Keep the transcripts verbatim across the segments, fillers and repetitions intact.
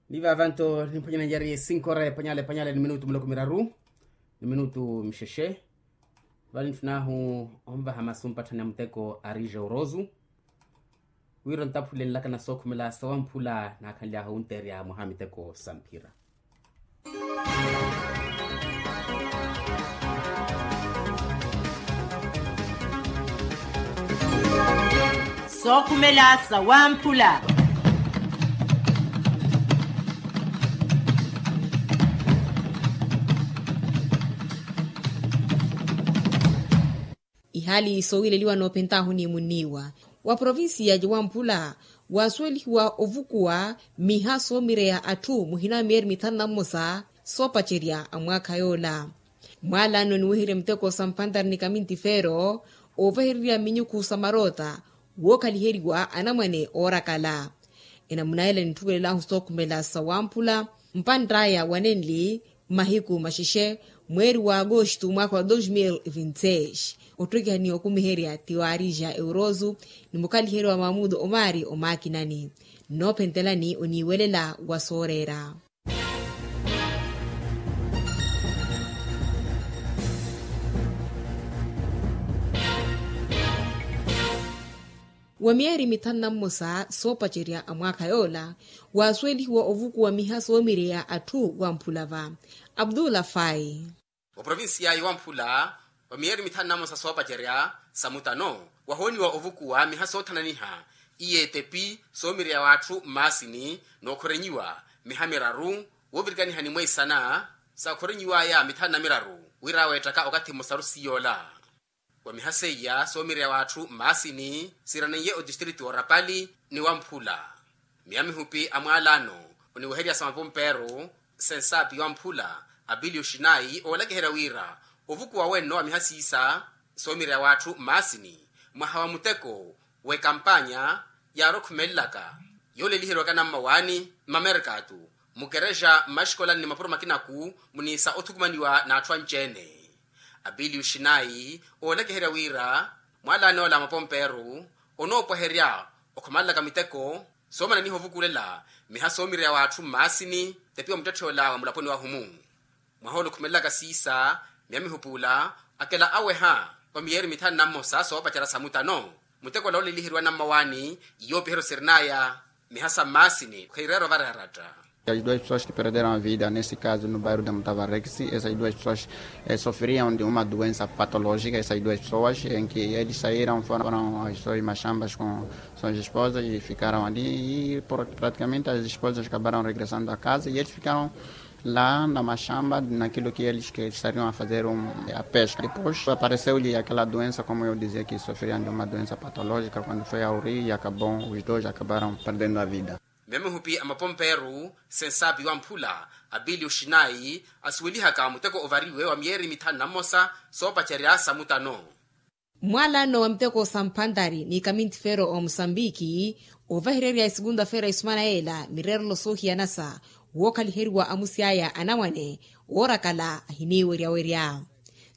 Ni vavanto nimphwanyananyari sinkora epanyala epanyala ni minutu muloko miraru ni minutu mixexe. Vale ntthu nahu onvaha masu mpatthani a muteko a rija orosu wira ontaphulenlaka na sookhumela sawamphula naakhanly'ahu wunteerya mwaha miteko sa mphira. Sookhumela sawamphula. Ihaali soowileliwa noophentaahu ni munniiwa wa provincia ya wamphula waasuwelihiwa ovukuwa miha soomireya atthu muhina wa miyeeri mithanu na mmosa soopacerya a mwaakha yoola. Mwaala anno oniweherya miteko sa mpantari ni kamintifeero oovahererya minyukhu sa maroota wookhaliheriwa anamwane oorakala. Enamuna ela nintthukelelahu sookhumela sawamphula mpantt'aya wanenli mahiku maxexe mweeri wa agosto mwaakha wa dos mil vinti seis. Ottekihani okumiherya ti waarija euroso ni mukhaliheriwa mamudo omaari omaakinani. Nnoophentelani oniiwelela wa sooreera. Wa miyeeri mithanu na mmosa soopacerya a mwaakha yoola waasuwelihiwa ovukuwa miha soomireya atthu wamphula va abdullah fai. Oprovincia ya wamphula wa miyeeri mithanu na mmosa soopacerya sa mutano wahooniwa ovukuwa miha soothananiha iye etepi soomireya w'atthu mmaasini nookhorenyiwa miha miraru woovirikaniha ni mweisana saakhorenyiw'aya mithanu na miraru wira aweettaka okathi mmosaru siyoola. Wa miha seiya soomireya w'atthu mmaasini siiraneiye otistritu wa orapali ni wamphula. Miya mihupi a mwaalaano oniweherya sa mapompeeru sensaapi wamphula apiliyo xinayi oolakiherya wira ovukuwa wenno wa miha siisa soomireya w'atthu mmaasini mwaha wa muteko w'ekampanya yaarokhumelelaka yooleliheriwaka nammawaani mmamerkatu mukerexa mmaxikolani ni mapuro makinaku muniisa othukumaniwa n'atthu anci-ene. Apiliyu xinayi oolakiherya wira mwaalaan'ola a mapompeeru onoopweherya okhumalelaka miteko soomananiha ovukulela miha soomireya w'atthu mmaasini tepiwa muttetth'ola wa mulaponi wahumu. Mwaha ola okhumelelaka siisa miya mihupuula akela aweha wa miyeeri mithanu na mmosa soopacerya sa mutano muteko ola ooleliheriwa nammawaani iyoopiheryo sirin'aya miha sa mmaasini kheireera ovareeratta. As duas pessoas que perderam a vida nesse caso no bairro de mutavarexi essas duas pessoas sofriam de uma doença patológica essas duas pessoas em que eles saíram foram as suas machambas com suas esposas e ficaram ali e praticamente as esposas acabaram regressando a casa e eles ficaram lá na machamba naquilo que eles que estariam a fazer a pesca depois apareceu-lhe aquela doença como eu dizia que sofriam de uma doença patológica quando foi ao rio e acabou os dois acabaram perdendo a vida. Miya mihupi a mapompeeru sensaapi wamphula apiliyu xinayi asuwelihaka muteko ovariwe wa miyeeri mithanu na mmosa soopacerya sa mutano. Mwaalano wa miteko sa mphantari ni kamintifeero wa musambiki ovahererya esekunta-feera isumana yeela mireerelo soohiyanasa wookhaliheriwa amusi aya anamwane oorakala ahiniiweryawerya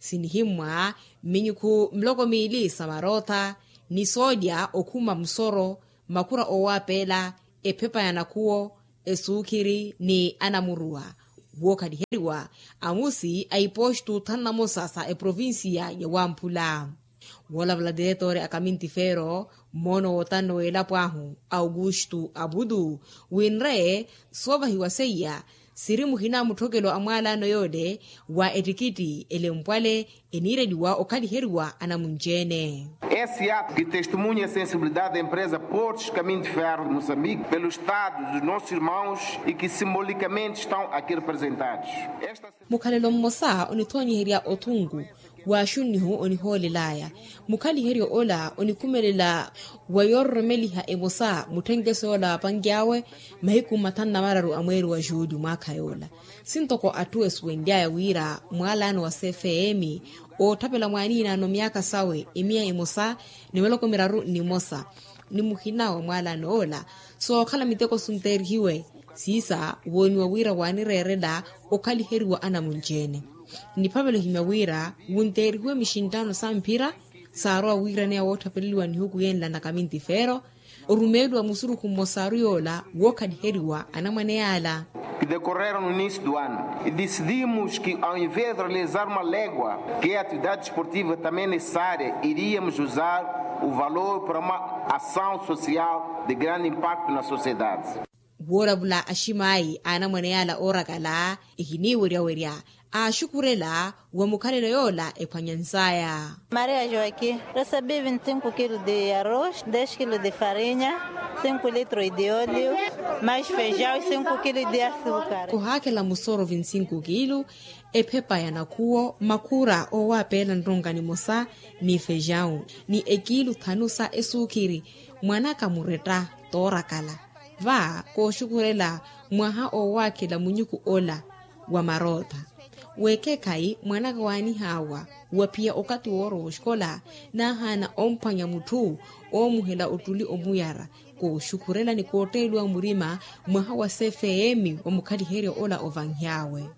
sinihimmwa mminyukhu miloko miili sa marootha ni soolya okhuma musoro makhura oowaapeela ephepa ya nakhuwo esuukhiri ni anamuruwa wookhaliheriwa amusi a ipoostu thanu na mosa sa eprovincia ya wamphula. Woolavala tiretore a kamintifeero mmoono wootanno w'elapo ahu augusto abudu winre soovahiwa seiya siri muhina mutthokelo a mwaalaano yoole wa ettikitti elempwale eniireliwa okhaliheriwa anamunci-ene. Esse ato que testemunha a sensibilidade da empresa portos caminho de ferro de moçambique pelo estado dos nossos irmãos e que simbolicamente estão aqui representados. Mukhalelo mmosa onithoonyiherya othunku w'axunnihu onihoolel'aya mukhaliheryo ola onikhumelela wa yoororomeliha emosa mutthenkeso yoola waapanky'awe mahiku mathanu na mararu a mweeri wa juuli mwaakha yoola sintoko atthu esuwenly'aya wira mwaalaano wa cfm ootthapela mwaaniinaano myaakha sawe emiya emosa ni miloko miraru ni mosa ni muhina wa mwaalaano ola sookhala miteko sunteerihiwe siisa wooniwa wira waanireerela okhaliheriwa anamunci-ene. Niphavela ohimya wira wunteerihiwe mixinttaano sa mphira saarowa wiiraneya wootthaveleliwa nihuku yenla na kamintifeero orumeeliwa musurukhu mmosaru yoola wookhaliheriwa anamwane yaala. Kidekorera no início do ano e decidimos que ao invés de realizar uma légua, que é a atividade desportiva também necessária, iríamos usar o valor para uma ação social de grande impacto na sociedade. Woolavula aximaayi a anamwane yaala oorakala, ehiniiweryawerya aaxukhurela wa mukhalelo yoola ephwanyansaya. Maria joaquim, recebi vinte e cinco quilos de arroz, dez quilos de farinha, cinco litros de óleo, mais feijão e cinco quilos de açúcar. Ohaakhela musoro vinte e cinco quilos, ephepa ya nakhuwo, makhura owaapeela nronka nimosa, ni feijão, ni ekilu thanu sa esuukhiri. Mwanaka muretta toorakala va kooxukhurela mwaha oowaakhela munyuku ola wa marootha. Weekhekhayi mwanaka waanihaawa waphiya okathi woorowa oxikola, naahaana omphwanya mutthu oomuhela ottuli omuyara. Kooxukhurela ni kootteeliwa murima mwaha wa cfm wa mukhaliheryo ola ovanhy'awe.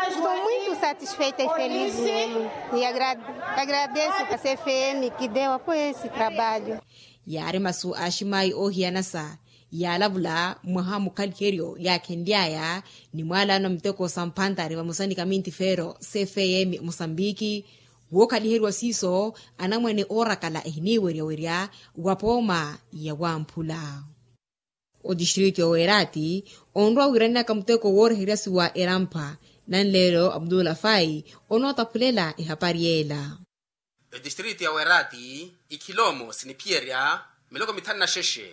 Estou muito satisfeita e feliz mesmo. E agradeço a cfm que deu apoio esse trabalho. Yaari masu a aximaayi oohiyanasa yaalavula mwaha mukhaliheryo yaakhenly'aya ni mwaalano a miteko sa mphantari vamosa ni kamintifeero cfm mosambiki. Wookhaliheriwa siiso anamwane oorakala ehiniiweryawerya wa pooma ya wamphula. Otistritu ya weeraati onrowa wiiraneyaka muteko wooreheryasiwa erampha. Nanleelo abdullah fai onootaphulela ehapari yeela. Etistritu ya weeraati ikhiloomo siniphiyerya miloko mithanu na xexe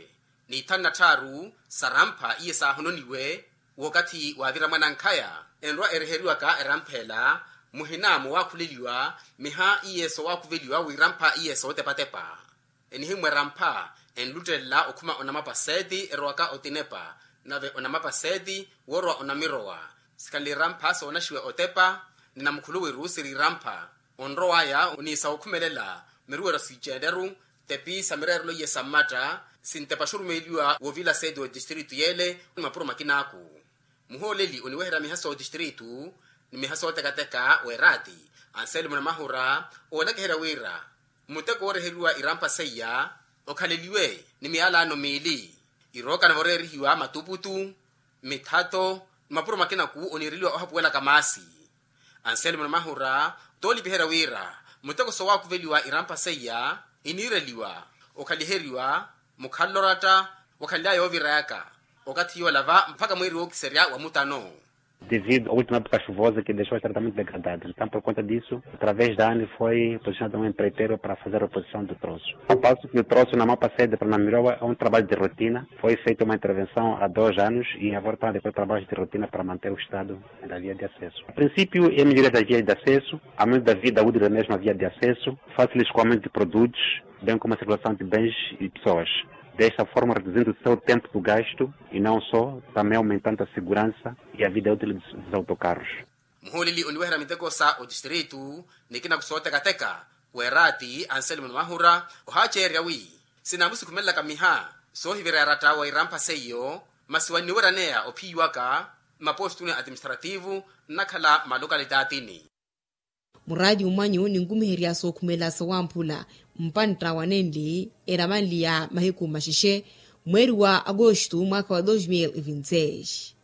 ni ithanu na tthaaru sarampha iye saahononiwe wookathi waavira mwanankhaya. Enrowa ereheriwaka erampha ela muhina mowaakhuleliwa miha iye sowaakhuveliwa wirampha iye sootepatepa. Enihimmwa erampha enluttelela okhuma onamapa seeti erowaka otinepa nave onamapa seeti woorowa onamirowa. Sikhanle irampha soonaxiwa otepa ni namukhuluwiru siri irampha. Onrow'aya oniisa okhumelela miruwero siiceeleru tepi sa mireerelo iye sa mmatta sintepa xurumeeliwa woovila seeti w'etistritu yeele ni mapuro makinaku. Muhooleli oniweherya miha sootistritu ni miha sootekateka weeraati anselmo namahura oolakiherya wira muteko wooreheriwa irampha seiya okhaleliwe ni miyalaano miili irookana voreerihiwa matuputu mithato ni mapuro makinaku oniireliwa ohapuwelaka maasi. Anselmo namahura toolipiherya wira muteko sowaakuveliwa irampha seiya iniireliwa okhaliheriwa mukhalelo oratta wakhanly'aya yoovirayaka okathi yoola va mpakha mweeri wookiserya wa mutano. Devido a última época chuvosa que deixou extremamente degradado. Então, por conta disso, através da ani foi posicionado um empreiteiro para fazer a reposição do troço. Ao passo que o troço na mapa sede para Namiroa é um trabalho de rotina. Foi feita uma intervenção há dois anos e agora está depois trabalhos de rotina para manter o estado da via de acesso. A princípio, é melhoria da via de acesso, aumento da vida útil da mesma via de acesso, fácil escoamento de produtos, bem como a circulação de bens e pessoas. Desta forma, reduzindo o seu tempo do gasto e não só, também aumentando a segurança e a vida útil dos, dos autocarros. Muhooleli oniweherya miteko sa otistritu nikina kusootekateka weeraati anselmo namahura ohaaceerya wi sinaamusikhumelelaka miha soohivira yaratta wa irampha seiyo masi wanniweryaneya ophiyiwaka mmaposituni atiministrativu nnakhala mmalokalitatini. Muraati mwanyu ninkumiherya sookhumela sawamphula mpantta wa nenli eramanli ya mahiku maxexe mweeri wa agosto mwaakha wa dos mil e vinti seis.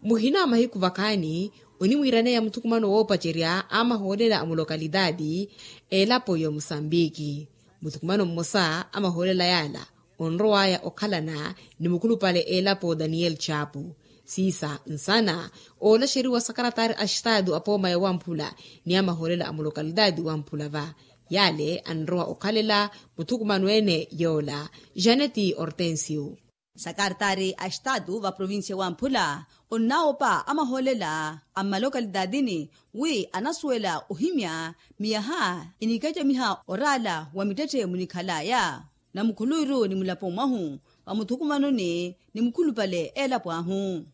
Muhina mahiku vakhaani onimwiiraneya muthukumano woopacerya a mahoolela a mulokalitati elapo ya omusambiki. Muthukumano mmosa a mahoolela yaala onrow'aya okhalana ni mukhulupale elapo daniyeli chapu. Siisa nsana oolaxeriwa sakaratari a estatu a pooma ya wamphula ni a mahoolela a mulokalitati wamphula va. Yaale anrowa okhalela muthukumano ene yoola janeti hortensio. Sakaratari a estatu va provincia wamphula onnaawopa a mahoolela a mmalokalitatini wi anasuwela ohimya miyaha eniikacamiha oraala wa mittette munikhalaya na mukhuluwiru ni mulapo mwahu va muthukumanoni ni mukhulupale elapo ahu.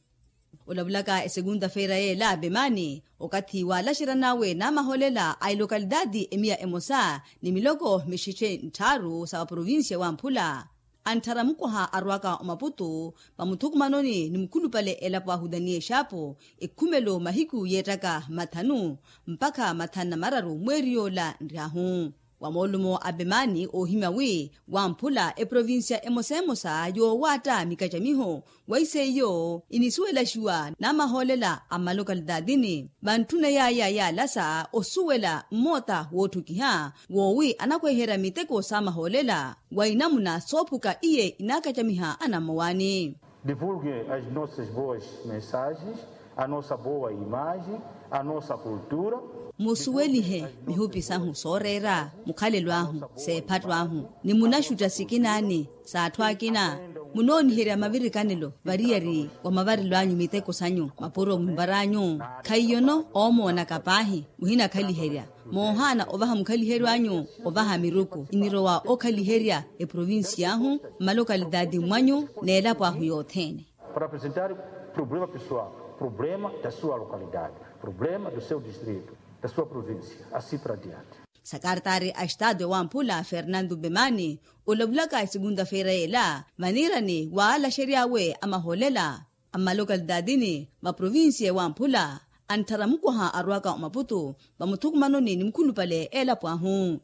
Olavulaka esegunta feira yeela vemani okathi waalaxeran'awe n'amahoolela a elokalitati emiya emosa ni miloko mixexe ntthaaru sa vaprovincia wamphula antthara mukwaha arwaka omaputu va muthukumanoni ni mukhulupale elapo ahu daniel shapu ekhumelo mahiku yeettaka mathanu mpakha mathanu na mararu mweeri yoola nryahu. Wa moolumo a pemaani oohimya wi wamphula eprovincia emosa emosa yoowaatta mikacamiho, wa iseiyo inisuwelaxiwa n'amahoolela a mmalokalitaathini vantthuna yaaya yaalasa osuwela mmoota wootthukiha woowi anakweherya miteko s'amahoolela wa inamuna soophuka iye inaakacamiha anammowaani. Divulgem as nossas boas mensagens, a nossa boa imagem, a nossa cultura. Musuwelihe mihupi sahu sooreera mukhalelo ahu, seephatto ahu ni munaxutta sikinaani s'atthu akina. Munooniherya mavirikanelo variyari wa mavarelo anyu miteko sanyu mapuro mumvaranyu. Khaiyono oomoonaka paahi muhinakhaliherya moohaana ovaha mukhaliheryo anyu ovaha miruku inirowa okhaliherya eprovincia ahu mmalokalitaathi mwanyu n'elapo ahu yothene. Para apresentar problema pessoal, problema da sua localidade, problema do seu distrito, da sua província, assim para diante. Sakartaari a estado ewamphula fernando bemani olavulaka esegunta-feira yela vaniirani waalaxery'awe amahoolela a mmalokalitaathini va provincia ewamphula antthara mukwaha arwaka omaputu vamuthukumanoni ni mukhulupale elapo ahu.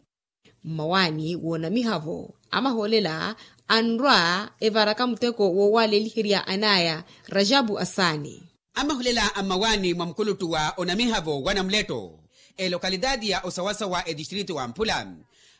Mmawaani woonamiha-vo amahoolela anrwa evaraka muteko woowaleliherya anaya rajabu asaani. Amahoolela a mmawaani mwa mukuluttu wa onamiha-vo wa namuletto elokalitaati ya osawasawa etistrito wamphula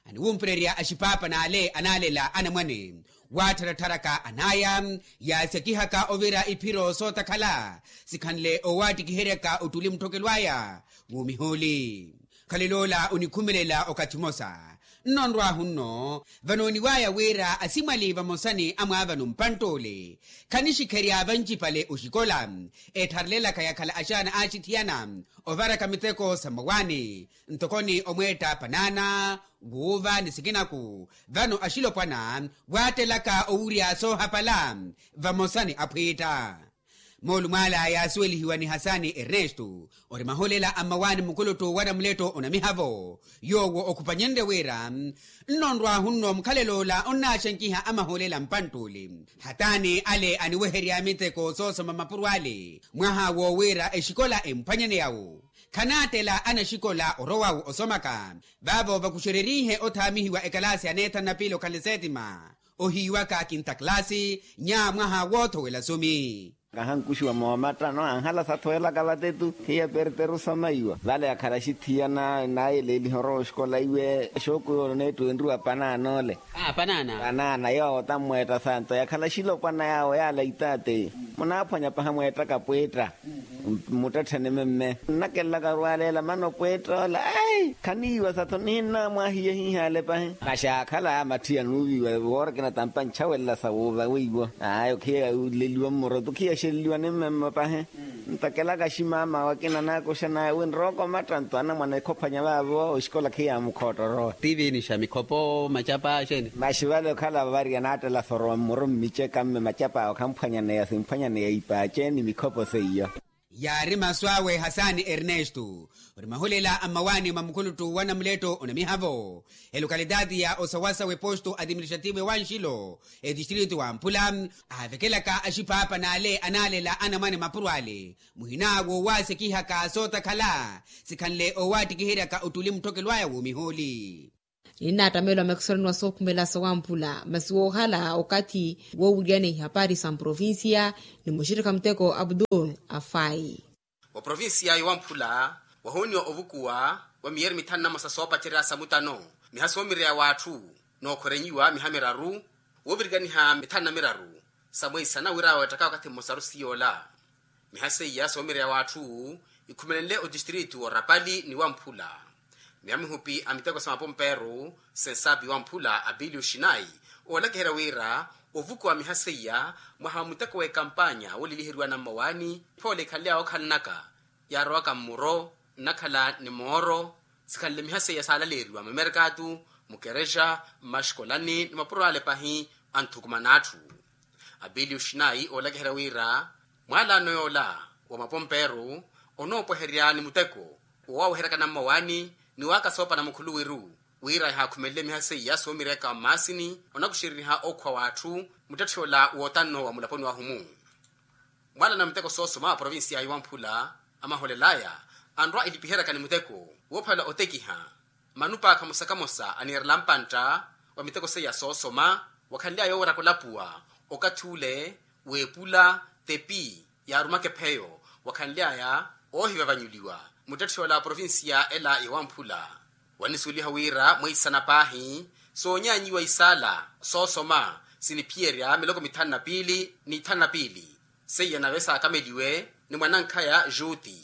aniwumpererya axipaapa n'ale anaalela anamwane waattharattharaka anaya yaasakihaka ovira iphiro sootakhala sikhanle owaattikiheryaka ottuli mutthokelo aya w'omihooli. Khalel'ola onikhumelela okathi mmosa nnonrwahu nno vanooniwaya wira asimwali vamosa ni amwaavano mpantt'ole khanixikherya vancipale oxikola ettharelelaka yakhala axaana aaxithiyana ovaraka miteko sa mmawaani ntokoni omweetta panaana wuuva ni sikinaku vano axilopwana waattelaka owurya soohapala vamosa ni aphwiitta. Moolumo ala yaasuwelihiwa ni hasani ernesto ori mahoolela a mmawaani mukuluttu wa namuletto onamiha-vo yoowo okhupanyenrye wira nnonrwahu nno mukhalel'ola onnaaxankiha amahoolela mpantt'uli hatani ale aniweherya miteko soosoma mapuro ale mwaha woowiira exikola emphwanyaneya-wo khanaattela anaxikola orowa-wo osomaka vaavo vakuxererihe othaamihiwa ekalaasi ya neethanu na piili okhale setima ohiiwaka kinta kalaasi nya mwaha woothowela sumi. Kahankuxiwa moomattano anhala sathowelaka vatetu hiya perteru samaiwa vale yakhala axithiyana naayeleeliha orowa oxikola iwe xookuyo neettu enriwa panaana ole. Panaana yoowo tammweetta santo yakhala axilopwana yaawo yaala itaate munaaphwanya paha mweettaka pweetta. Mmuttetthene memme nnakelelaka orwaleela mana opweetta ola ai khaniiwa satho nihinnamwahiye hihaale pahi. Masi aakhala matthi anuuviwa woora kinatampa nchawelela sa wuuva weiwo ai okhiya uleliwa mmoroto okhiya axeleliwa ni mmemme pahi. Ntakelaka aximama wakina naakuxanaya wi nrooko mattanto anamwana ekhophwanya vaavo oxikola khiyaamukhootta orowa. Tiivinixa mikhopo macapa axeeni. Masi vale okhala vavarya naattela sa orowa mmoro mmiceka mme macap'awe khamphwanyaneya simphwanyaneya ipaace ni mikhopo seiyo. Yaari masu awe hasani ernesto ori mahulela a mmawaani mwa mukhuluttu wa namuletto onamiha-vo elokalitaati ya osawasawa eposto atiministrativo ewanxilo etistrito wa mphula aavekelaka axiphaapa n'ale anaalela anamwane mapuro ale muhina woowaasekihaka sootakhala sikhanle owaattikiheryaka ottuli mutthokelo aya w'omihooli. Ninnaattamelwa makisoraniwa sookhumela sowamphula masi woohala okathi woowiriyana ihapari sa mprovincia ni muxittikha muteko abdul afai. Wa provincia yowamphula wahooniwa ovukuwa wa miyeri mithanu na mosa soopacerya sa mutano miha soomireya w'atthu nookhorenyiwa miha miraru woovirikaniha mithanu na miraru sa mweisana wira weettaka wakathi mmosaru siyoola. Miha seiya soomireya w'atthu ikhumelenle otistrito orapali ni wamphula miha mihupi a miteko sa mapomperu sensapi wamphula apiliyo xinai oolakiherya wira ovukuwa miha seiya mwaha wa muteko w'ekampanya wooleliheriwa na mmawaani phoole ikhanle yawookhalanaka yaarowaka mmuro nnakhala ni mooro sikhanle miha seiya saalaleeriwa mamerkatu mukerexa mmaxikolani ni mapuro ale pahi anthukumana atthu. Apiliyo xinai oolakiherya wira mwaalaano yoola wa mapomperu onoopweherya ni muteko woowaweheryaka na mmawaani ni waakasoopana mukhuluwiru wira ehaakhumelele miha seiya soomireyaka mmaasini onakuxereriha ookhuwa w'atthu muttetthe ola wootanno wa mulaponi wahumu. Mwaalana muteko soosoma wa provincia yowamphula amaholelaya anrwa ilipiheryaka ni muteko woophalela otekiha Manupa kamosa kamosa aniirela mpantta wa miteko seiya soosoma, wakhanly'aya owiiraka olapuwa okathi ule w'epula, tepi yaarumaka epheyo, wakhanly'aya oohivavanyuliwa. Muttetthe ola a provincia ela ya wamphula wanisuweliha wira mweisana paahi soonyaanyiwa isaala soosoma siniphiyerya miloko mithanu na piili ni ithanu na piili, seiya nave saakameliwe ni mwanankhaya juti.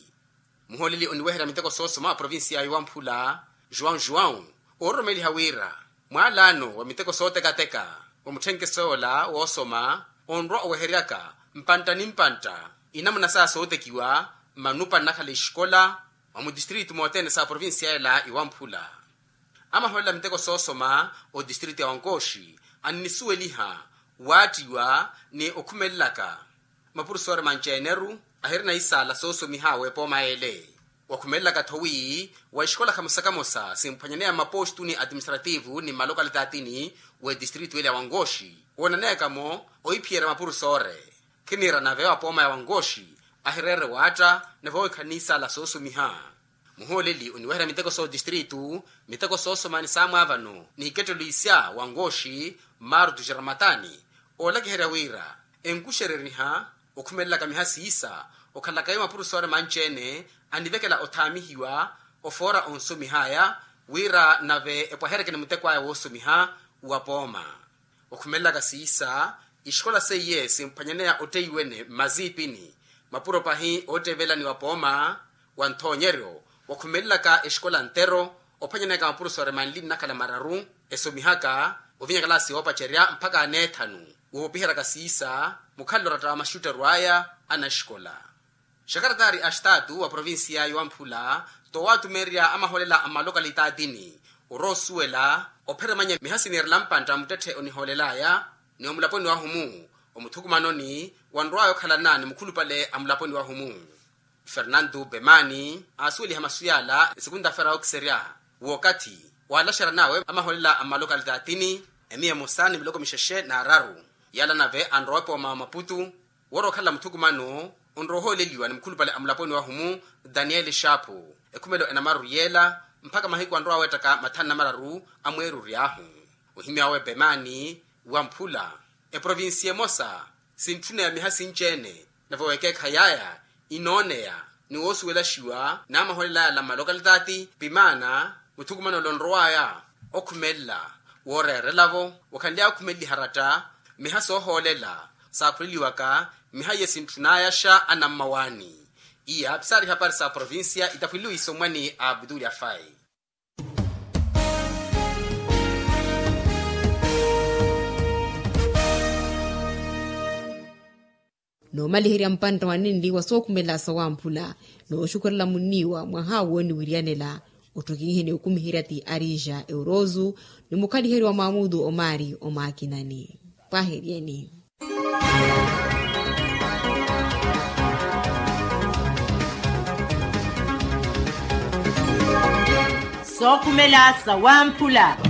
Muhooleli oniweherya miteko soosoma a provincia ya wamphula, juwau juwau, oororomeliha wira mwaalaano wa miteko sootekateka wa mutthenkeso ola woosoma onrwa oweheryaka mpantta ni mpantta inamuna saya sootekiwa mmanupa nnakhala exikola mwa mutistritu mothene sa provincia ela ya wamphula. Amahoolela miteko soosoma otistritu ya wankooxi annisuweliha waattiwa ni okhumelelaka mapurofesori manci-ene-ru ahirina isaala soosomiha w'epooma ele. Wakhumelelaka-tho wi wa exikola kamosa kamosa simphwanyaneya mmapostu ni atiministrativu ni mmalokalitati ni w'etistritu ele ya wankooxi woonaneyaka-mo ohiphiyerya mapurofesori. Khiniira nave wa pooma ya wankooxi ahireere waatta nave ohikhani isaala soosomiha. Muhooleli oniweherya miteko sootistritu, miteko soosoma ni saamwaavano ni hikettelo isya wankooxi, martu xiramatani oolakiherya wira enkuxereriha okhumelelaka miha siisa okhalaka yo mapurofesori manci-ene anivekela othaamihiwa ofoora onsomih'aya wira nave epwaheryeke ni muteko aya woosomiha wa pooma. Okhumelelaka siisa, ixikola seiye simphwanyaneya otteiwene mmaziipini mapuro pahi oottevelani wa pooma wa nthoonyeryo. Wakhumelelaka exikola ntero ophwanyaneyaka mapurofesori manli nnakhala mararu esomihaka ovinya kalaasi yoopacerya mpakha aneethanu. Woopiheryaka siisa mukhalelo oratta wa maxutteru aya anaxikola. Xakaratari a xitaatu wa provincia ya wamphula towatumerya amahoolela a mmalokalitatini oroosuwela opheremanya miha siniirela mpantta muttetthe onihoolelaya ni omulaponi wahumu omuthukumanoni wanrwaya okhalana ni mukhulupale a mulaponi wahumu. Fernandu bemani aasuweliha masu yaala esikunta fera okiserya w'okathi waalaxeran'awe amahoolela a mmalokalitatini emiya emosa ni miloko mixexe n'araru. Yaala nave anrowa epooma wa maputu worookhalela muthukumano onrowa ohooleliwa ni mukhulupale a mulaponi wahumu daniel xaapu ekhumelo enamaru yeela mpakha mahiku anrowa weettaka mathanu namararu a mweeruryahu. Ohimy'awe bemani wamphula eprovinsiya emosa sintthuna ya miha sinci-ene nave weekeekhayi aya inooneya ni woosuwelaxiwa n'amahoolela yala mmalokalitati pimaana muthukumano ole onrow'aya okhumelela wooreerela-vo wakhanly'aya okhumeleliha ratta miha soohoolela saakhuleliwaka miha iye sintthun'ayaxa anammawaani. Iya psaari hapari sa provincia itaphweliwe isomwa ni abdul afai. Noomaliherya mpantta wa ninli wa sookhumela sawamphula nooxukhurela munniiwa mwaha wooniwiryanela ottokiiheni okumiherya ti arija euroozu ni mukhaliheryo wa maamudu omaari omaakinani. Pwaheryeni. Sookhumela sawamphula.